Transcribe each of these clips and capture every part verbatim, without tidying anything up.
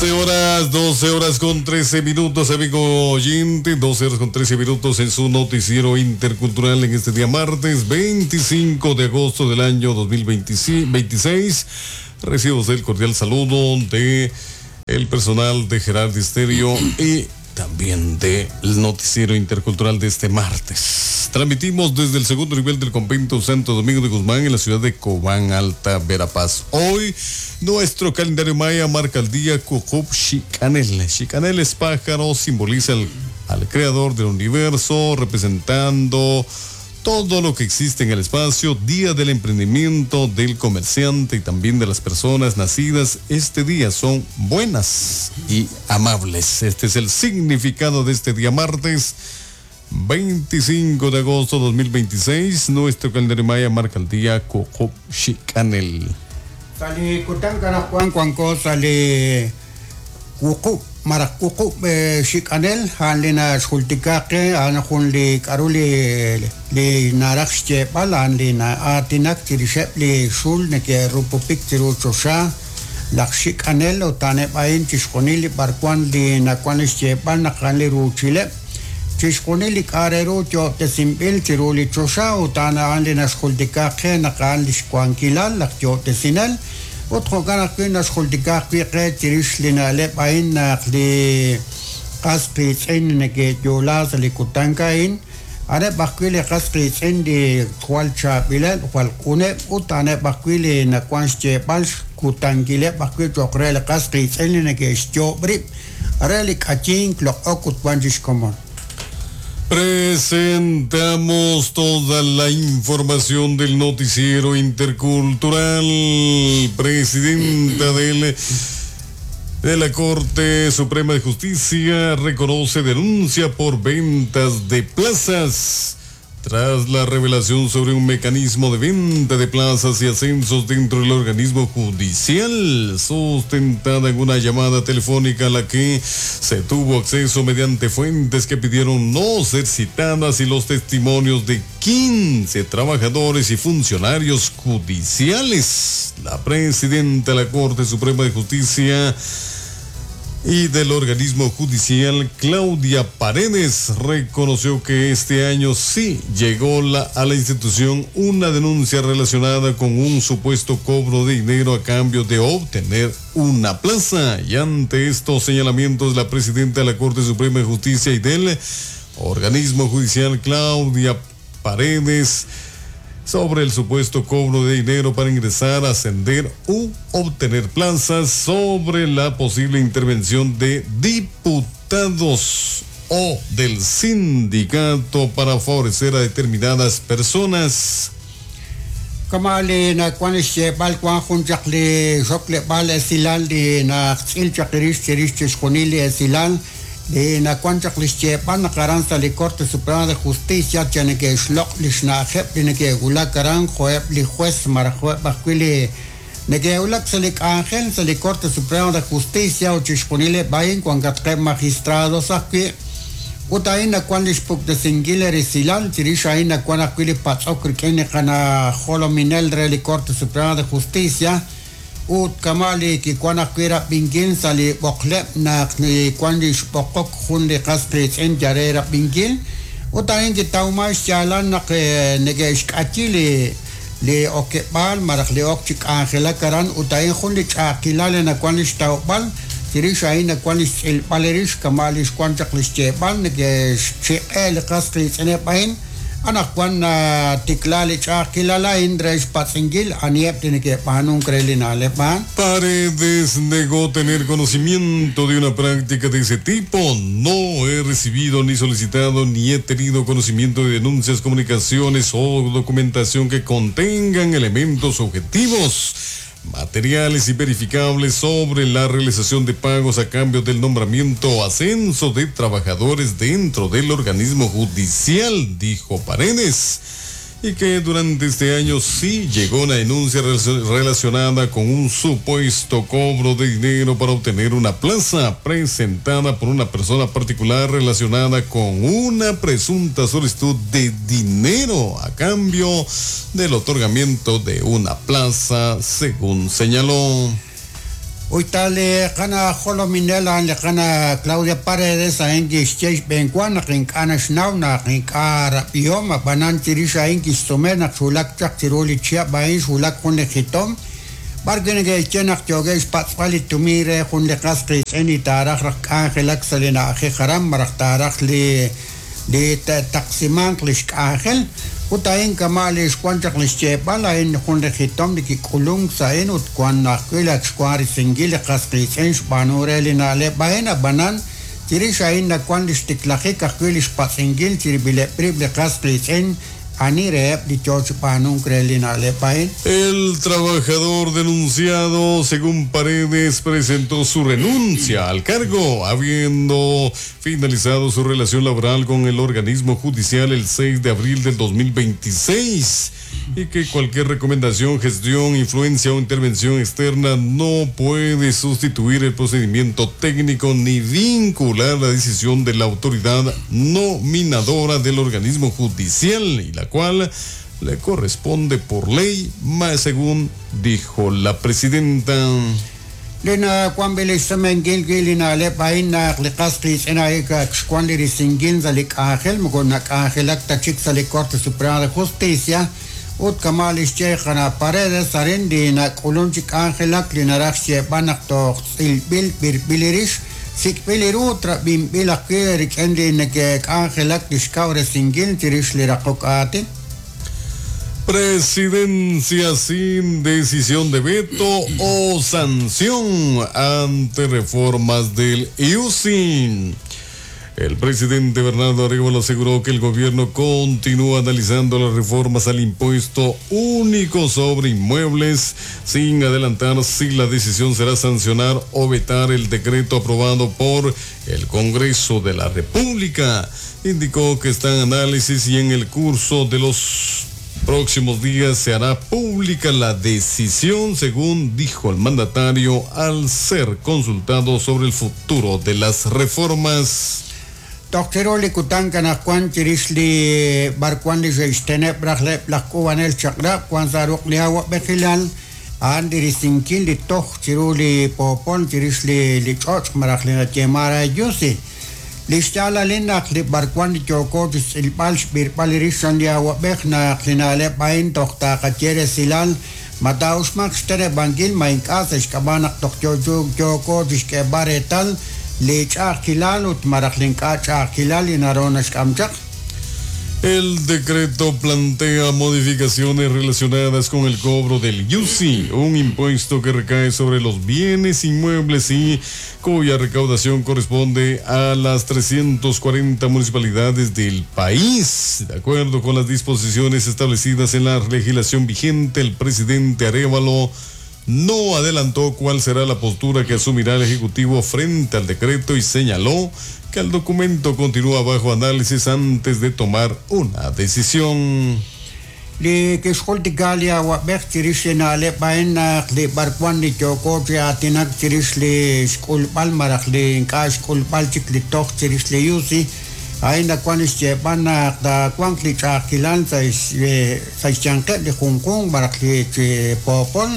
doce horas, doce horas con trece minutos, amigo oyente, doce horas con trece minutos en su noticiero intercultural en este día martes veinticinco de agosto del año dos mil veintiséis. Recibo el cordial saludo de el personal de Gerardo Estéreo y también del noticiero intercultural de este martes. Transmitimos desde el segundo nivel del convento Santo Domingo de Guzmán en la ciudad de Cobán, Alta Verapaz. Hoy nuestro calendario maya marca el día Cucup Xicanel. Xicanel es pájaro, simboliza al, al creador del universo, representando todo lo que existe en el espacio. Día del emprendimiento, del comerciante y también de las personas nacidas este día son buenas y amables. Este es el significado de este día martes veinticinco de agosto dos mil veintiséis. Nuestro calendario maya marca el día Cucup Xicanel. Sali kutan Juan Cuanco sali Cucup Maracucu Xicanel han lina xultikaqe han jun li k'aru li li naraj xyeeb'al han li aatinak chirixeb' li xul neke'rupupik chiru choxa laj Xicanel utaneb' a'in chixjunil li b'arwan li nawan li xyeeb'al naq han li ruuchileb' chixjunil li k'a' re ru yo'tesinb'il chiru li choxa utan a'an li naxjultikaqe naq a'an li xwankilal laj yo'tesinel ut jo'kan ajwi' naxjultikaq wi' qe chirix li na'leb' a'in naq li qas qiitz'in neke'yo'la sa' li kutan a'in a'aneb' ajwi' li qas qiitz'in li jwal chaab'ileb' jwal q'uneb' ut a'aneb' ajwi' li nawan xyeeb'al xkutankileb' ajwi' cho'q re li qas qiitz'in li neke'xyoob' rib' re li k'ayink loq'ok ut wan chixkomon. Presentamos toda la información del noticiero intercultural. Presidenta del, de la Corte Suprema de Justicia reconoce denuncia por ventas de plazas. Tras la revelación sobre un mecanismo de venta de plazas y ascensos dentro del organismo judicial, sustentada en una llamada telefónica a la que se tuvo acceso mediante fuentes que pidieron no ser citadas y los testimonios de quince trabajadores y funcionarios judiciales. La presidenta de la Corte Suprema de Justicia y del organismo judicial, Claudia Paredes, reconoció que este año sí llegó la, a la institución una denuncia relacionada con un supuesto cobro de dinero a cambio de obtener una plaza. Y ante estos señalamientos, la presidenta de la Corte Suprema de Justicia y del organismo judicial, Claudia Paredes, sobre el supuesto cobro de dinero para ingresar, ascender u obtener plazas, sobre la posible intervención de diputados o del sindicato para favorecer a determinadas personas. Kama li nawan xyeeb'al wan jun chaq li xokleb'al esilal li naqtz'il chaq rix chirix chixjunil li esilal li nawan chaq li xyeeb'al naq aran sa' li Corte Suprema de Justicia cha neke'xloq' li xna'ajeb' li neke'wulak aran jo'eb' li juez maraj jo'eb' ajwi' li neke'wulak sa' li k'anjel sa' li Corte Suprema de Justicia ut chixjunileb' a'in wankatqeb' magistrados ajwi' ut a'in nawan li xpuktesinkil resilal chirix a'in nawan ajwi' li patz'ok rik'in li qanajolominel re li Corte Suprema de Justicia ut kama li kiwan ajwi' rab'inkil sa' li b'oqleb' naq li wan li xb'oqok jun li qas qiitz'in yare rab'inkil ut a'in kitawma xyaalal naq neke'xk'ayi li li okeb'aal maraj li ok chi k'anjelak aran ut a'in jun li ch'a'ajkilal li nawan li xtawb'al chirix a'in nawan li xtz'ilb'al rix kama li xwan chaq li xyeeb'al neke'xchiq'e li qas qiitz'ineb' a'in anaqwan tikla li ch'a'ajkilal a'in re xpatz'inkil anieb' li neke'b'aanunk re li na'leb' a'an. Paredes negó tener conocimiento de una práctica de ese tipo. No he recibido ni solicitado ni he tenido conocimiento de denuncias, comunicaciones o documentación que contengan elementos objetivos, materiales y verificables sobre la realización de pagos a cambio del nombramiento o ascenso de trabajadores dentro del organismo judicial, dijo Paredes. y que durante este año sí llegó una denuncia relacionada con un supuesto cobro de dinero para obtener una plaza presentada por una persona particular relacionada con una presunta solicitud de dinero a cambio del otorgamiento de una plaza, según señaló. Uyta li qana jolominel a'an li qana Claudia Paredes a'in kixye xb'eenwa naq ink'a' naxnaw naq ink'a' rab'ihom ab'anan chirix a'in kixsume naq xwulak chaq chiru li chihab' a'in xwulak jun li jitom b'arwi' neke'xye naq yookeb' xpatz'b'al li tumin re jun li qas qiitz'in li taaraj raj k'anjelak sa' li na'ajej aran malaj taaraj li li taqsimanq li xk'anjel ut a'in kama' li xwan chaq li xyeeb'al a'in jun li jitom li kik'ulunk sa' a'in ut wan ajwi' ak xwan risinkil li qas qiitz'in xb'aanu re li na'leb' a'in ab'anan chirix a'in nawan li xtiklajik ajwi' li xpatz'inkil chirib'ileb' rib' li qas qiitz'in ani reheb' li yoo chi b'aanunk re li na'leb' a'in. El trabajador denunciado, según Paredes, presentó su renuncia al cargo, habiendo finalizado su relación laboral con el organismo judicial el seis de abril del dos mil veintiséis, y que cualquier recomendación, gestión, influencia o intervención externa no puede sustituir el procedimiento técnico ni vincular la decisión de la autoridad nominadora del organismo judicial, y la cual le corresponde por ley, más según dijo la presidenta. Lena Juan Vélez Gilina le paina le castris en aika Juan Lirisingin zalik ángel mugona ángel acta chic Corte Suprema de Justicia ut kamalis chejana Paredes arendina kulunchik ángel linarach banak to ilbil birbilirish sikbilirutra bimbilak endin que ángel actishkaure singin tirish lirakokati. Presidencia sin decisión de veto o sanción ante reformas del I U S I. El presidente Bernardo Arévalo aseguró que el gobierno continúa analizando las reformas al impuesto único sobre inmuebles, sin adelantar si la decisión será sancionar o vetar el decreto aprobado por el Congreso de la República. Indicó que está en análisis y en el curso de los próximos días se hará pública la decisión, según dijo el mandatario al ser consultado sobre el futuro de las reformas. Doctor Likutanka Juan Chirisli Barcuan Lixteneb Rajleb Lakuanel Chakra Juan Zaruk Liawa Bejilal Andirisinkin Litoch Chiruli Popol Chirisli Lichoch Marajlina Chemara Yusi Lixtala Linak Li Barcuan Choko Silpal Birpal Rishan Liawa Bejna Linale Pain Tochta Kachere Silal Mataushmak Stere Bangil Mainkas Eshkabanak Tochyo Choko Tishkebaretal El decreto plantea modificaciones relacionadas con el cobro del I U S I, un impuesto que recae sobre los bienes inmuebles y cuya recaudación corresponde a las trescientas cuarenta municipalidades del país. De acuerdo con las disposiciones establecidas en la legislación vigente, el presidente Arévalo no adelantó cuál será la postura que asumirá el Ejecutivo frente al decreto y señaló que el documento continúa bajo análisis antes de tomar una decisión. Li kixjultika wab'ej chirix li na'leb' a'in naq li b'arwan li yooko chi aatinak chirix li xk'ulb'al malaj li ink'a' xk'ulb'al chik li toj chirix li I U S I a'in nawan xyeeb'al naq tawanq li ch'a'ajkilal sa' xyanqeb' li junjunq malaj li chi poopol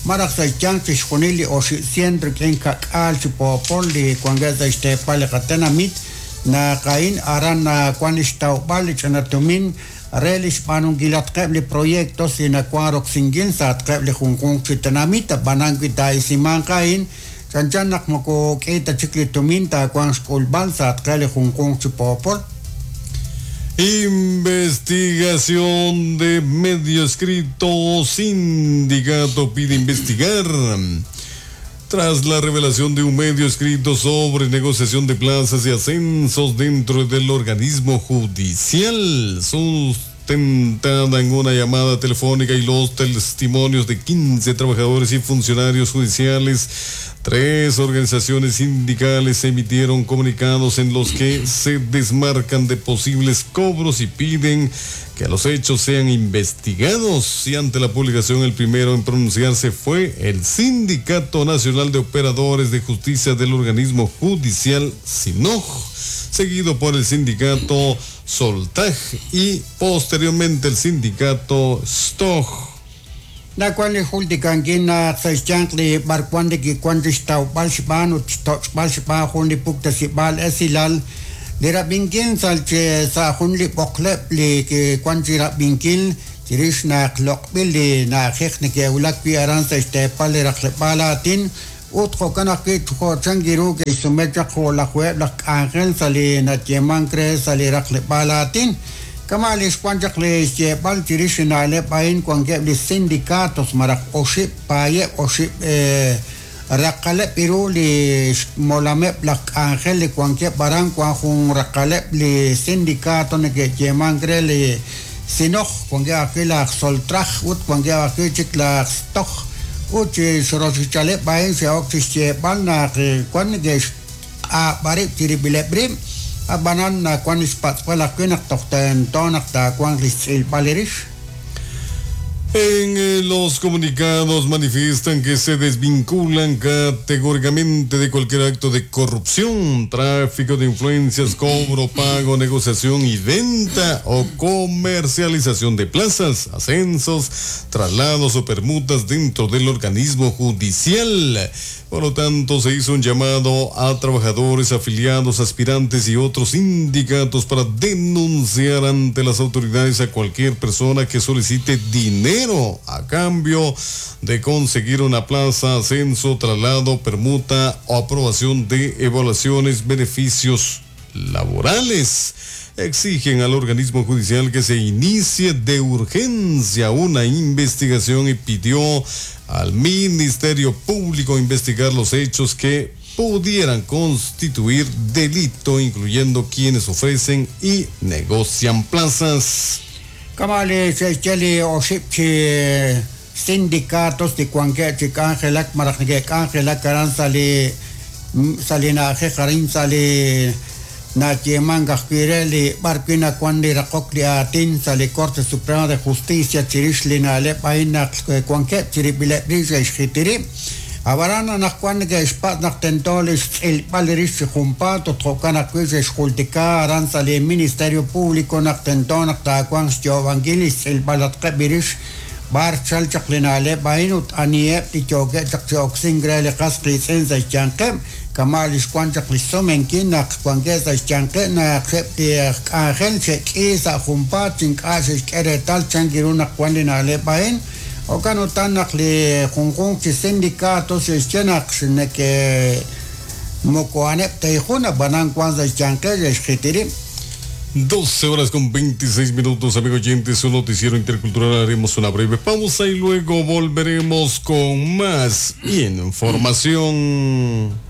malaj sa' xyanq chixjunil li oxi' rik'in kak'aal chi poopol li wankeb' sa' xteepal li qatenamit naq a'in aran nawan xtawb'al li ch'ina tumin re li xb'aanunkilatqeb' li proyectos li nawan roksinkil sa'atqeb' li junjunq chi tenamit ab'anan wi taa'isimanq a'in chanchan naq moko k'i ta chik li tumin taawan xk'ulb'al sa'atqeb' li junjunq chi poopol. Investigación de medio escrito. Sindicato pide investigar. Tras la revelación de un medio escrito sobre negociación de plazas y ascensos dentro del organismo judicial, sustentada en una llamada telefónica y los testimonios de quince trabajadores y funcionarios judiciales, tres organizaciones sindicales emitieron comunicados en los que se desmarcan de posibles cobros y piden que los hechos sean investigados. Y ante la publicación, el primero en pronunciarse fue el Sindicato Nacional de Operadores de Justicia del organismo judicial SINOJ, seguido por el sindicato Soltaj y posteriormente el sindicato STOJ. Nawan li jultikankil naq sa' xyanq li b'arwan li kiwan chixtawb'al xb'aan ut xtoch'b'al xb'aan jun li puktasib'aal esilal li rab'inkil sa' sa' jun li b'oqleb' li kiwan chi rab'inkil chirix naq loq'b'il li na'ajej neke'wulak wi' aran sa' xteepal li raqleb'aal aatin ut jo'kan ajwi' jo'chan kiru ke'xsume chaq jo'lajuheb' laj k'anjel sa' li nayeemank re sa' li raqleb'aal aatin. Kama li xwan chaq li xyeeb'al chirix li na'leb' a'in wankeb' li sindicatos malaj oxib' paayeb' oxib' raqaleb' iru li xmolameb' laj k'anjel li wankeb' aran wan jun raqaleb' li sindicato neke'yeemank re li sinoj wankeb' ajwi' laj soltraj ut wankeb' ajwi' chik laj stoj ut xroxichaleb' a'in xe'ok chi xyeeb'al naq wan neke'xq'ab'arib' chirib'ileb' rib' ab'anan wan xpatz'b'al ajwi' naq toj tento naq taawanq li xtz'ilb'al rix. En los comunicados manifiestan que se desvinculan categóricamente de cualquier acto de corrupción, tráfico de influencias, cobro, pago, negociación y venta o comercialización de plazas, ascensos, traslados o permutas dentro del organismo judicial. Por lo tanto, se hizo un llamado a trabajadores, afiliados, aspirantes y otros sindicatos para denunciar ante las autoridades a cualquier persona que solicite dinero a cambio de conseguir una plaza, ascenso, traslado, permuta o aprobación de evaluaciones, beneficios laborales. Exigen al organismo judicial que se inicie de urgencia una investigación y pidió al Ministerio Público investigar los hechos que pudieran constituir delito, incluyendo quienes ofrecen y negocian plazas. Kama li xe'xye li oxib' chi sindicatos li wankeb' chi k'anjelak malaj neke'k'anjelak aran sa' li sa' li na'ajej arin sa' li nayeemank ajwi' re li b'ar wi' nawan li raqok li aatin sa' li Corte Suprema de Justicia chirix li na'leb' a'in naq wankeb' chirib'ileb' rib' xe'xjiti rib'. Ab'aran anaqwan neke'xpatz' naq tento li xtz'ilb'al rix chi junpaat ut jo'kan ajwi' xe'xjultika aran sa' li Ministerio Público naq tento naq taawanq xyoob'ankil li xtz'ilb'alatqeb' rix b'ar chal chaq li na'leb' a'in ut aniheb' li yookeb' chaq chi oksink re li qas qiitz'in sa' xyanqeb'. Kama li xwan chaq li xsumenkil naq wankeb' sa' xyanqeb' naq eb' li k'anjel xe'k'i sa' junpaat ink'a' xe'xk'e reetal chan kiru naq wan li na'leb' a'in. Jo'kan utan naq li junjunq chi sindicatos xe'xye naq neke moko a'aneb' ta jun ab'anan wan sa' xyanqeb' xe'xjiti rib'. doce horas con veintiséis minutos, amigos oyentes, su noticiero intercultural. Haremos una breve pausa y luego volveremos con más información.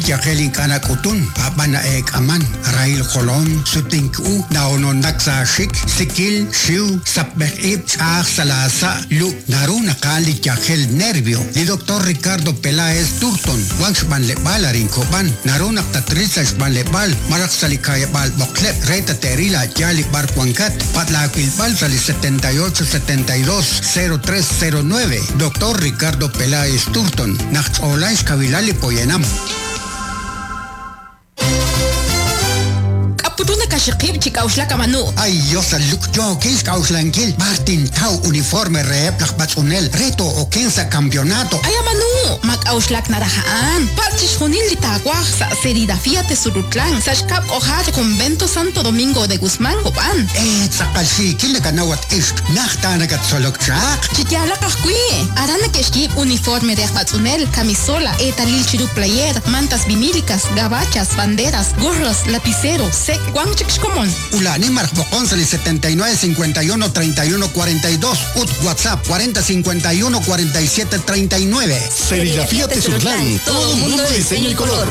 Yajel ink'ana k'utun ab'ana eek'aman rail jolon sutink'u naononak sa xik sikil xiw sapb'ej ib' ch'aj salasa lu naru naqal li yajel nervio li doctor Ricardo Peláez Turton wan xb'anleb'al arin Kob'an naru naq tatril sa xb'anleb'al maraj sa li kayeb'al b'oqleb' re tateril a'yaal li b'ar wankat patlaawilb'al sa li setenta y ocho setenta y dos cero tres cero nueve. Doctor Ricardo Peláez Turton naq ch'oolay xkawilal li poyanam. Kaxiqib' chi k'auxlak amanu. Ay, Dios, luk yookil k'auxlankil. Martin Tau uniforme reheb' laj b'atz'unel reto oken sa' campeonato. Ay, amanu, ma k'auxlak naraja'an. Patz chixjunil li taawaj sa' serigrafía Tezurutlán, sa' xkab' k'ojar Convento Santo Domingo de Guzmán Copán. Eh, tz'aqal xiikil nakanawat ixq, najta nakatzolok chaq. Chiyalaq ajwi'. Aran neke'xyiib' uniforme de aj b'atz'unel, camisola, eetalil chiru player, mantas vinílicas, gabachas, banderas, gorros, lapicero, sec, wan chik xkomon. Ulani maraj b'oqon sa' li setenta y nueve cincuenta y uno treinta y uno cuarenta y dos ut WhatsApp cuarenta cincuenta y uno cuarenta y siete treinta y nueve. Serigrafía Tezutlán, todo un mundo de diseño y color.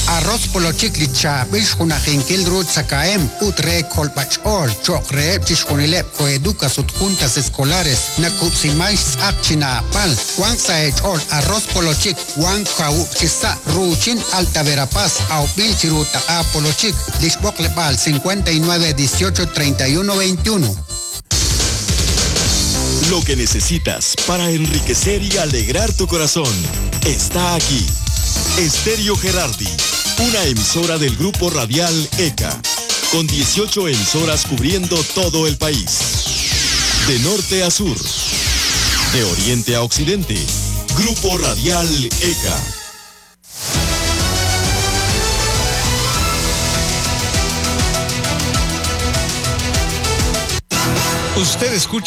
Arroz polochik li chaab'il xjunajinkil ru tzakaem ut re kolb'ach'ool cho'q reheb' chixjunileb' koeducas ut juntas escolares nakub'simay xtz'aq chinaapal wan sa' ech'ool arroz polochik wan kawub' chisa' ruuchin Alta Verapaz awb'il chiru taq'a polochik li xb'oqleb'aal cincuenta y nueve dieciocho treinta y uno veintiuno. Lo que necesitas para enriquecer y alegrar tu corazón está aquí. Estéreo Gerardi. Una emisora del Grupo Radial ECA, con dieciocho emisoras cubriendo todo el país. De norte a sur, de oriente a occidente, Grupo Radial ECA. Usted escucha